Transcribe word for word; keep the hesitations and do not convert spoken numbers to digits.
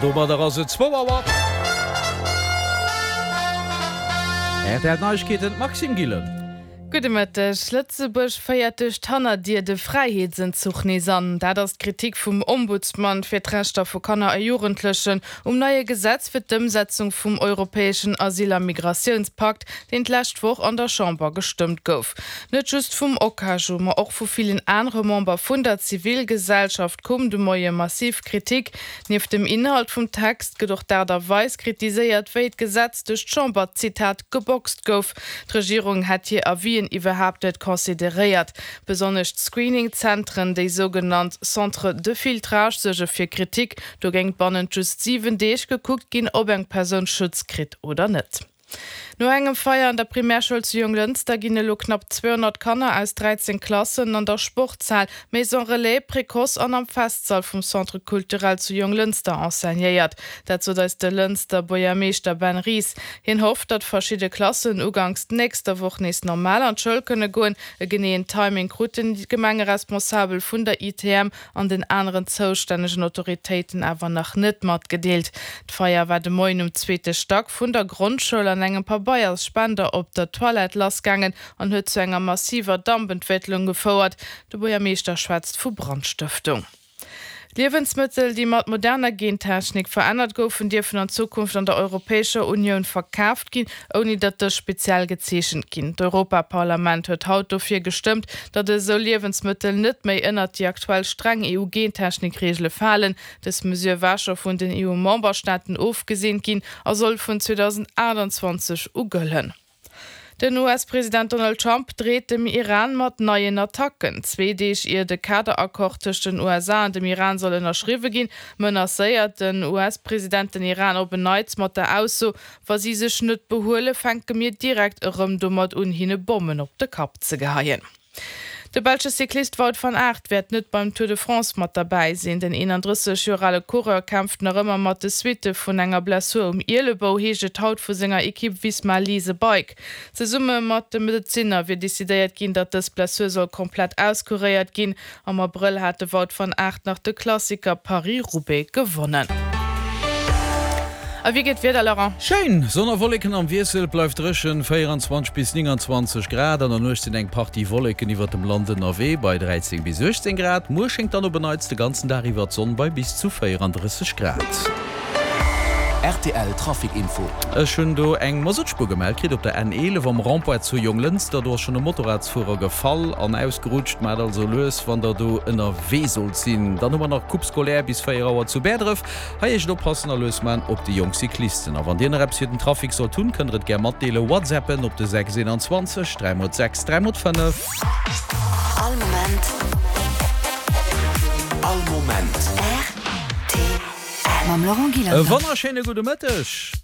Domadder ass et zwou Auer. R T L Neiegkeeten, d'Maxime Gillen. Gudde Mëtteg. Lëtzebuerg féiert duerch d'Hannerdier de Fräiheetsenzuch nees an. Dat ass d'Kritik vum Ombudsman fir d'Rechter vu Kanner a Jugendlechen um neie Gesetz fir d'Ëmsetzung vum europäeschen Asyl a Migratiounspakt, deen d'lescht Woch an der Chamber gestëmmt gouf. Net just vum OKAJU, ma och vu villen anere Member vun der Zivilgesellschaft koum de Moie massiv Kritik. Nieft dem Inhalt vum Text gëtt och d'Aart a Weis kritiséiert, wéi d'Gesetz duerch d'Chamber, Zitat, geboxt gouf. D'Regierung hätt hir Avisen iwwerhaapt net consideréiert. Besonnesch d'Screening-Zentren, déi sougenannt Centres de filtrage, suerge fir Kritik. Do géing bannent just siwen Deeg gekuckt ginn, ob eng Persoun Schutz kritt oder net. No engem Feier an der Primärschoul zu Jonglënster ginn elo knapp zweehonnert Kanner aus dräizéng Klassen an der Sportshal, Maison Relais, Précoce an am Festsall vum Centre Culturel zu Jonglënster enseignéiert. Dat sot eis de Lënster Buergermeeschter Ben Ries. Hien hofft, datt verschidde Klassen uganks nächster Woch nees normal an d'Schoul kënne goen. E geneeën Timing kruten déi Gemengeresponsabel vun der I T M an den aneren zoustännegen Autoritéiten awer nach net matgedeelt. D'Feier war de Moien um zweete Stack vun der Grondschoul an engem Pabeiersspender op der Toilette lassgaangen an huet zu enger massiver Dampentwécklung gefouert. De Buergermeeschter schwätzt vu Brandstëftung. Liewensmëttel, déi mat moderner Gentechnik verännert goufen, dierfen an Zukunft an der Europäescher Unioun verkaaft ginn, ouni datt dës speziell gezeechent ginn. D'Europaparlament huet haut dofir gestëmmt, datt esou Liewensmëttel net méi ënnert déi aktuell streng E U-Gentechnik-Reegele falen. Dës Mesure war scho vun den E U-Memberstaaten ofgeseent ginn a soll vun zweedausendaachtanzwanzeg u gëllen. Den U S-President Donald Trump dreet dem Iran mat neien Attacken. Zwee Deeg ier de Kaderaccord tëscht den U S A an dem Iran soll ënnerschriwwe ginn, menacéiert den U S-President den Iran op en Neits mat der Ausso, wa si sech net behuelen, fänke mir direkt erëm domat un, hinne Bommen op de Kapp ze geheien. De belsche Cyclist Wout van Aert wäert net beim Tour de France mat derbäi sinn. Den eenandrësseg Joer ale Coureur kämpft nach ëmmer mat de Suitte vun enger Blessur um Ielebou, heescht et haut vu senger Ekipp Visma Lease a Bike. Zesumme mat de Medezinner wier decidéiert ginn, datt dës Blessur soll komplett auskuréiert ginn. Am Abrëll hat de Wout van Aert nach de Klassiker Paris-Roubaix gewonnen. A wéi geet d'Wieder, Laurent? Schéin! Sonn a Wolleken am Wiessel, bleift dréchen, véieranzwanzeg bis nénganzwanzeg Grad. An der Nuecht sinn eng Partie Wolleken iwwert dem Land ënnerwee bei dräizéng bis uechtzéng Grad. Muer schéngt dann op en Neits de ganzen Dag iwwer d'Sonn bei bis zu véierandrësseg Grad. R T L Trafic Info. Ech hunn do eng Masuttspuer gemellt kritt op der N eelef am Rond-point zu Jonglënster. Do ass schonn e Motorradsfuerer gefall an ausgerutscht. Maacht also lues, wann der do ënnerwee sollt sinn. Dann hu mer nach Coupe scolaire bis véier Auer zu Bäerdref. Hei eescht oppassen a lues man op déi jonk Cyclisten. A wann dir nach eppes fir den Trafic sollt hunn, kënnt der et gär matdeelen. Whatsappen op de sechs eenanzwanzeg dräi mol sechs dräi mol fënnef. All Moment. All Moment. R T L. Mam Laurent E Gillander. Wonnerschéine gudde Mëtteg.